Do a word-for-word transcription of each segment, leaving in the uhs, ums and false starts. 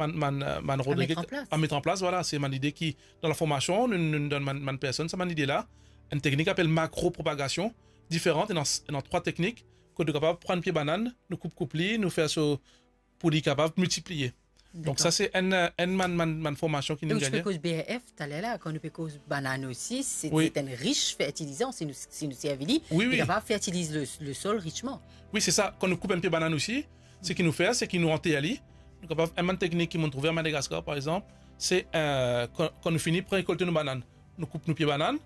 bann, bann, euh, bann Rodriguez, met an plas. A met an plas, vwala, se bann lide ki, dan laformasion, nou, nou donn bann, bann personn sa bann lide la. Enn teknik apel makropropagasion, diferan, ena, ena trwa teknik, kot nou kapav pran pie banann, nou koup, koup li, nou fer so, pou li kapav miltipliye. Donk, dakor. Sa se enn, enn bann, bann, bann formasion ki nou gagn. E ou ti pe koz B R F taler la, kan nou pe koz banann osi, se, wi, se enn rich fertilizan, si nou, si nou servi li, wi, li, wi, kapav fertiliz le, le sol richman. Wi, se sa. Kan nou koup enn pie banann osi, seki nou fer, seki nou anter li. Nou kapav, enn bann teknik ki monn trouve a Madagaskar, par exanp, se, euh, kan, kan nou fini pran rekolte nou banann, nou koup nou pie banann,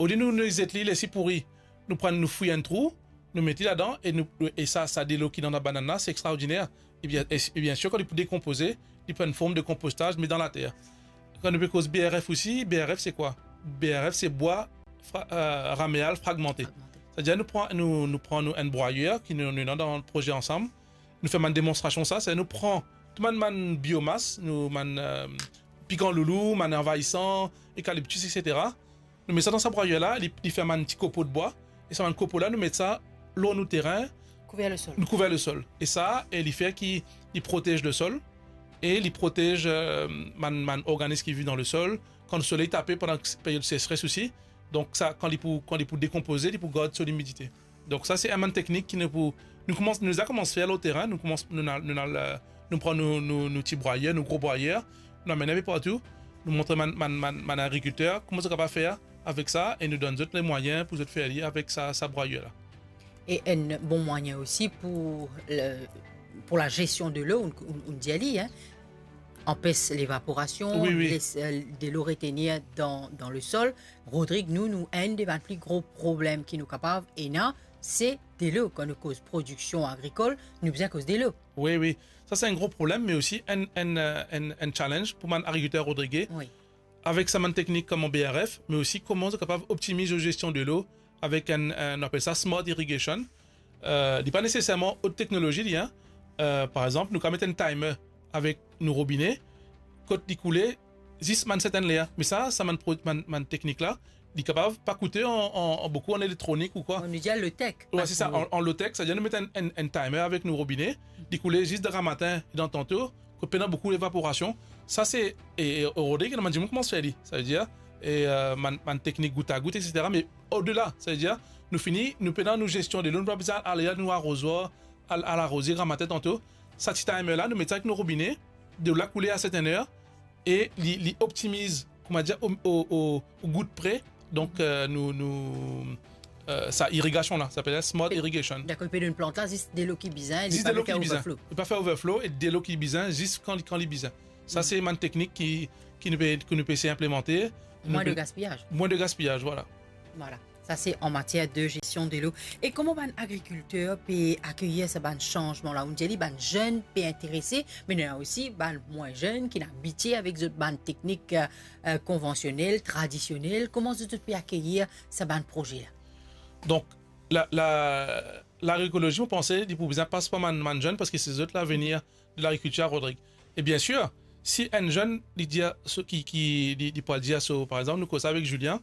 olie nou, nou zet li, les li pouri, nou pran, nou fouy enn trou, nou met li ladan, e nou, e sa, sa delo ki dan labanann la, se extraordiner. E bien, e, e biensir, kan li pou dekonpoze, li pran enn form de konpostaz, me dan later. Kan nou pe koz B R F osi, B R F se kwa? B R F se bwa fra-, euh, rameal fragmante. Fragmante. Setadir nou pran, nou, nou pran nou enn brwayer ki nou, nou ena dan proze ansam. Nou fer bann demonstrasion sa, se nou pran tou bann, bann biomas, nou bann, euh, pikan loulou, bann anvayisan, ekaliptis, et cetera. Nou met sa dan sa brwayer la, li, li fer bann ti kopo de bwa, e sa bann kopo la, nou met sa lor nou terin, kouver le sol. Nou kouver le sol. E sa, e li fer ki li protez le sol, e li protez, euh, bann, bann organis ki viv dan le sol. Kan soley tape pandan period sesres osi, donk sa, kan li pou, kan li pou dekonpoze, li pou gard so limidite. Donk sa se enn bann teknik ki nou pou, nou koumans, nou deza koumans fer lor terin, nou koumans, nou al, nou al, euh, nou pran nou, nou, nou ti brwayer, nou gro brwayer, nou amenn enpe partou, nou montre bann, bann, bann, bann agrikilter kouma zot kapav fer avek sa, e nou donn zot lemwayin pou zot fer li avek sa, sa brwayer la. E enn bon mwayin osi pou le, pou la gestion de l'eau, ou, ou, ou dir li, hein, anpes levaporasion, wi, wi, les, euh, delo retenir dan, dan le sol. Rodrig, nou, nou, enn de bann pli gro problem ki nou kapav ena, se delo. Kan nou koz prodiksion agrikol, nou bizin koz delo. Wi, wi. Sa se enn gro problem, me osi enn, enn, euh, enn, enn challenge pou bann agrikilter rodrige. Wi. Avek sa bann teknik kouma B R F, me osi kouma zot kapav optimiz zot gestion delo avek enn, enn, nou apel sa smart irrigation. Euh, li pa neseserman ot teknolozi li, hein. Euh, par exanp, nou kapav met enn timer avek nou robine, kot li koule zis bann sertenn ler. Me sa, sa bann pro-, bann, bann teknik la, li kapav pa koute an, an, an boukou an elektronik ou kwa. Nou dir low-tech. Wi, se sa, an, an low-tech, setadir nou met enn, enn, enn timer avek nou robine, li koule zis dan gramatin e dan tanto, kot pena boukou levaporasion. Sa se, e, e, Rodrig, ena bann dimoun koumans fer li. Savedir, e, euh, bann, bann teknik gout a gout, et cetera. Me odela, savedir, nou fini, nou pena nou gestion delo, nou pa bizin al, al nou arozar, al, al aroze gramatin tanto. Sa ti timer la, nou met sa avek nou robine, delo la koule a sertenn ler, e li, li optimiz, kouma dir, o, o, o, o gout pre. Donk, euh, nou, nou, euh, sa irigasion la, sa apel smart irrigation. Dakor, li pe donn plant la zis delo ki bizin, li pa fer overflow. Li pa fer overflow e delo ki bizin, zis kan li, kan li bizin. Sa se bann teknik ki, ki nou pe, ki nou pe esey inplimante. Mwin de gaspiyaz. Mwin de gaspiyaz, vwala. Vwala. Sa se an matier de gestion de l'eau. E kouma bann agrikilter pe akeyir sa bann sanzman la? Ou dir li bann zenn pe interese, me nou ena osi bann mwin zenn ki ena abitie avek zot bann teknik, euh, euh, konvansionel, tradisionel. Kouma zot, zot pe akeyir sa bann proze la? Donk, la, la, lagrikolozi, mo panse, li pou bizin pas par bann, bann zenn, parski se zot lavenir de lagrikiltir a Rodrig. E biensir, si enn zenn, li dir so, ki, ki, li, li pou al dir so, par exanp, nou koz avek Julien,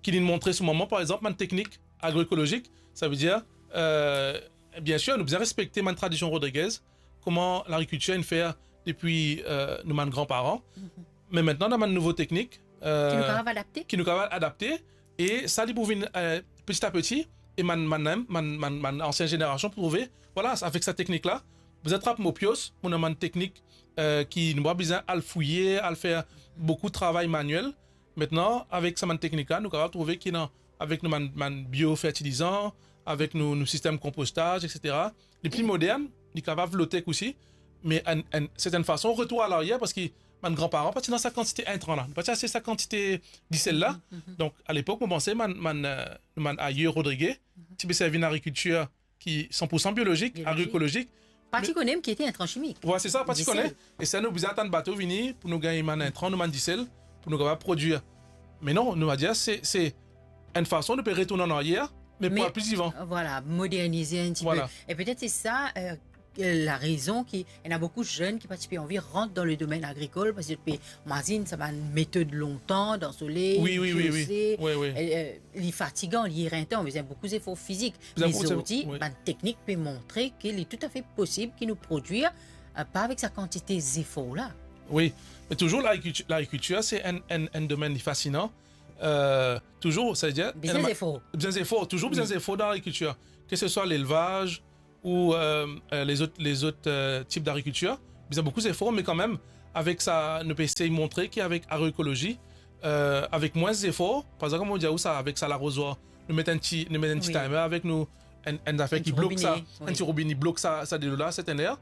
ki li montre so mama, par exanp, bann teknik agroekolozik, savedir, euh, biensir, nou bizin respekte bann tradision rodrigez, kouma lagrikiltir inn fer depi, euh, nou bann granparan. Me aster, ena bann nouvo teknik, euh, ki nou kapav adapte. Ki nou kapav adapte, e sa, li pou vinn, euh, peti a peti, e bann, bann, bann, bann, bann ansien zenerasion pou trouve, vwala, avek sa teknik la, bizin trap mo pios, mo ena bann teknik, euh, ki nou pa bizin al fouye, al fer boukou travay maniel. Aster, avek sa bann teknik la, nou kapav trouve ki ena, avek nou bann, bann biofertilizan, avek nou, nou sistem konpostaz, et cetera. Li pli modern, li kapav low-tech osi, me enn, enn sertenn fason, retour a laryer, parski bann granparan pa ti ena sa kantite intran la, nou pa ti ase sa kantite disel la. Donk, alepok, mo panse bann, bann, euh, bann aye rodrige, ti pe servi enn agrikiltir ki san pour san biolozik, biolozik, agroekolozik. Pa ti kone mem ki ete intran chimik. Vwala, se sa, pa ti kone. Disel. E sa, nou bizin atann bato vini pou nou gagn bann intran, nou bann disel, pou nou kapav prodwir. Me non, nou va dir, se, se enn fason nou pe retourn an aryer, me pou al pli divan. Vwala, modernize enn ti pe. Vwala. E petet se sa, euh, larezon ki, ena boukou zenn ki pa ti pe anvi rant dan le domenn agrikol, parski zot pe mazinn sa bann metod lontan, dan soley, wi, wi, wi, wi, wi, wi, euh, li fatigan, li erentan, bizin boukou zefor fizik. Bizin boukou zefor, wi. Me zordi, bann teknik pe montre ki li toutafe posib ki nou prodwir euh, pa avek sa kantite zefor la. Wi, me touzour lagrikilti-, lagrikiltir, se enn, enn, enn domenn li fasinan. Euh, touzour, savedir, bizin zefor. Bizin zefor, touzour bizin zefor dan lagrikiltir. Ke se swa lelvaz ou, euh, euh, lezot, lezot, euh, tip dagrikiltir, bizin boukou zefor, me kanmem, avek sa, nou pe esey montre ki avek agroekolozi, euh, avek mwins zefor, par exanp, kouma mo dir ou sa, avek sa larozwar, nou met enn ti, nou met enn ti timer avek nou, enn, enn zafer ki blok sa, enn ti robine, enn ti robine, blok sa, sa delo la, serten ler.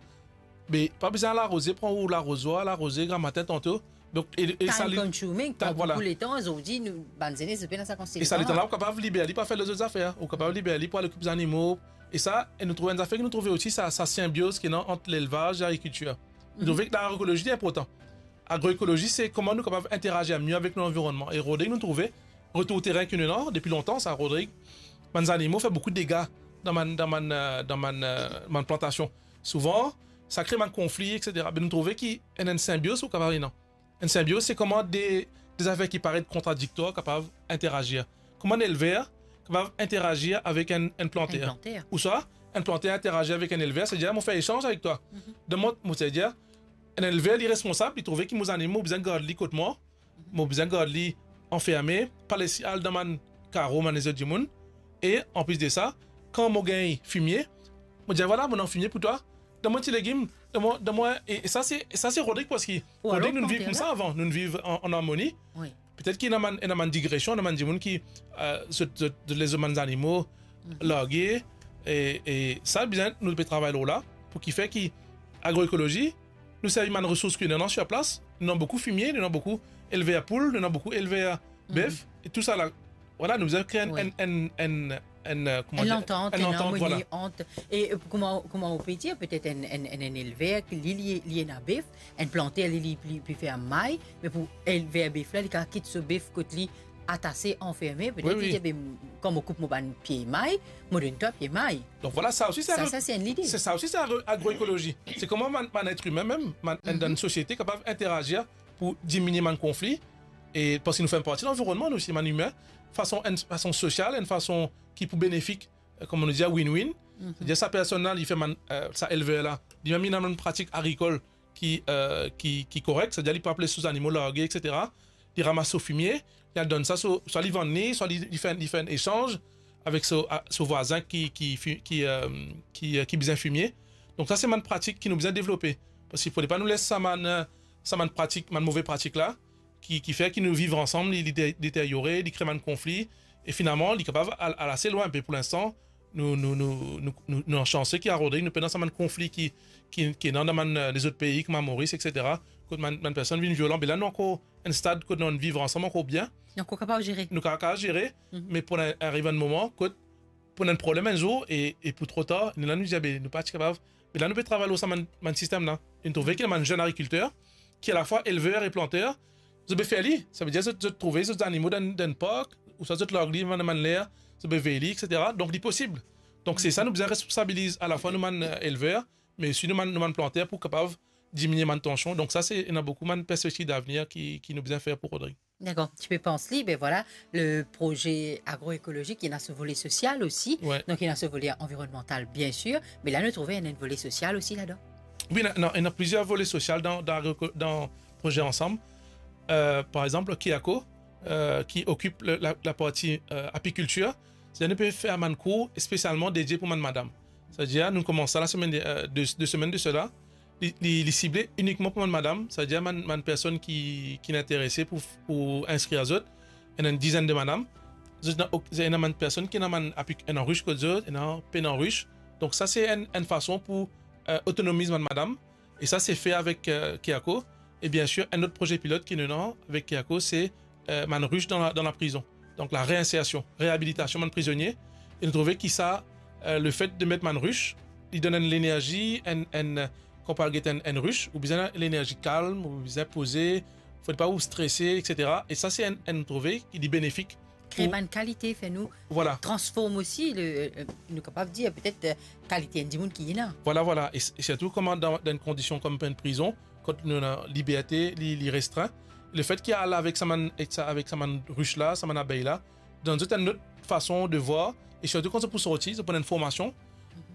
Me pa bizin al aroze, pran ou larozwar, al aroze gramatin tanto. Donk, e, e sa li, time consuming, pran boukou letan, zordi, nou, bann zenes, zot pena sa kantite letan la. E sa letan la, ou kapav liber li pou al fer lezot zafer, ou kapav liber li pou al okip zanimo. E sa, e nou trouv enn zafer ki nou trouve osi, sa, sa sinbioz ki ena ant lelvaz e lagrikiltir. Nou trouve ki lagroekolozi li inportan. Agroekolozi, se kouma nou kapav interazir mie avek nou lanvironnman. E Rodrig, nou trouve, retour terin ki nou ena depi lontan, sa, Rodrig, bann zanimo fer boukou dega dan bann, dan bann, euh, dan bann, euh, bann plantasion. Souvan, sa kre bann konfli, et cetera. Me nou trouve ki ena enn sinbioz ou kapav ena. Enn sinbioz, se kouma de, de zafer ki paret kontradikter kapav interazir. Kouma enn elver kapav interazir avek enn, enn planter. Enn planter. Ouswa, enn planter interazir avek enn elver, savedir mo fer esanz avek twa. Donk, mo, mo, savedir, enn elver, li responsab, li trouve ki mo zanimo, mo bizin gard li kot mwa, mo bizin gard li anferme, pa les li al dan bann karo, bann lezot dimoun. E anplis de sa, kan mo gagn fimie, mo dir, "Vwala, mo ena fimie pou twa. Donn mwa ti legim, donn mwa, donn mwa," e, e sa se, sa se Rodrig, parski Rodrig, nou'nn viv koumsa avan, nou'nn viv an, an armoni. Wi. Petet ki ena bann, ena bann digresion, ena bann dimoun ki, euh, zot, zot, zot les zot bann zanimo large, e, e sa bizin nou pe travay lor la, pou ki fer ki agroekolozi, nou servi bann resours ki nou ena sir plas, nou ena boukou fimie, nou ena boukou elver poul, nou ena boukou elver bef, e tou sa la, vwala, nou bizin kre enn, enn, enn, enn, euh, kouma dir, enn lantant, enn lantant, vwala. Ant, e, euh, kouma, kouma ou pe dir, petet enn, enn, enn, enn elver, ki li, li, li ena bef, enn planter, li, li, li pe fer may, me pou elver bef la, li kapav kit so bef kot li atase, anferme, petet li dir, "Be, kan mo koup mo bann pie may, mo donn twa pie may." Donk vwala, sa osi se agro-, sa, sa se enn lide. Se sa osi se agro-, agroekolozi. Se kouma bann, bann et imin mem, bann, dan enn sosiete kapav interazir pou diminie bann konfli, e parski nou fer parti lanvironnman, nou osi, bann imin, fason, enn fason sosial, enn fason ki pou benefik, euh, kouma nou dir, win-win. Savedir sa personn la, li fer bann, euh, sa elver la, li mem li ena bann pratik agrikol ki, euh, ki, ki korek, savedir li pa les so zanimo large, et cetera. Li ramas so fimie, li al donn sa so, swa li vann li, swa li, li fer, li fer enn esanz avek so, a, so vwazin ki, ki fi-, ki, euh, ki, euh, ki bizin fimie. Donk sa se bann pratik ki nou bizin devlope. Parski fode pa nou les sa bann, euh, sa bann pratik, bann move pratik la, ki, ki fer ki nou viv ansam, li, li de-, deteryore, li kre bann konfli, e finalman, li kapav al, al ase lwin. Me pou linstan, nou, nou, nou, nou, nou, nou sanse ki a Rodrig, nou pena sa bann konfli ki, ki, ki ena dan bann, euh, lezot pei, kouma Moris, et cetera, kot bann, bann personn vinn violan. Be la, nou ankor enn stad kot nou viv ansam ankor bien. Nou ankor kapav zere. Nou kapav, kapav zere, me pou ariv enn moman kot pou ena enn problem enn zour e, e pou tro tar, nou la nou dir, "Be, nou pa ti kapav." Me la nou pe travay lor sa bann, bann sistem la. E nou trouve ki ena bann zenn agrikilter, ki alafwa elver e planter, zot pe fer li. Savedir zot, zot trouve zot zanimo dan, dan park, ouswa zot larg li bann, bann ler, zot pe vey li, et cetera. Donk li posib. Donk se sa, nou bizin responsabiliz alafwa nou bann, euh, elver, me osi nou bann, nou bann planter pou kapav diminie bann tansion. Donk sa se, ena boukou bann perspektiv davenir ki, ki nou bizin fer pou Rodrig. Dakor, ti pe pans li, be vwala, le proze agroekolozik, li ena so vole sosial osi, donk li ena so vole anvironnmantal, bien sir, me la nou trouve ena enn vole sosial osi ladan. Wi, ena, ena, ena plizier vole sosial dan, dan agro-, dan proze Ansam. Euh, par exanp, Kiako, euh, ki okip le, la, laparti, euh, apikiltir, savedir nou pe fer bann kour spesialman dedie pou bann madam. Savedir nou koumans sa lasemenn, euh, de, de semenn de sela, li, li, li sible inikman pou bann madam, savedir bann, bann personn ki, ki interese pou, pou inskrir zot, ena enn dizenn de madam. Zot ena ok-, ena bann personn ki ena bann apik-, ena rich kot zot, ena pena rich. Donk sa se enn, enn fason pou, euh, otonomiz bann madam. E sa se fer avek, euh, Kiako. E bien sir, enn lot proze pilot ki nou ena avek Kiako, se, euh, bann rich dan la, dan la prizon. Donk la reinsersion, reabilitasion bann prizonie. E nou trouve ki sa, euh, lefet de met bann rich, li donn enn lenerzi, enn, enn, kan ou al get enn, enn rich, ou bizin lenerzi kalm, ou bizin poze, fode pa ou strese, et cetera. E sa se enn, enn, nou trouve ki li benefik. Kre bann kalite, fer nou, vwala, transform osi le, euh, nou kapav dir petet, euh, kalite enn dimoun ki ena. Vwala, vwala. E, e sirtou kouma dan, dan enn kondision kouma enn prizon, kot nou ena liberte, li, li restrin. Lefet ki al avek sa bann, ek sa, avek sa bann rich la, sa bann abey la, donn zot enn lot fason de vwar, e sirtou kan zot pou sorti, zot pou ena enn formasion,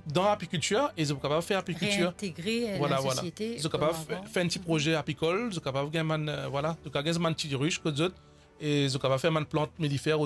dan apikiltir e zot kapav fer apikiltir. Réintégrer euh, Voilà, la voilà. société. Zot Comme kapav fer, avant. Fer enn ti proze apikol, zot kapav gagn bann, euh, voilà, zot kapav gagn bann ti rich kot zot, e zot kapav fer bann plant melifère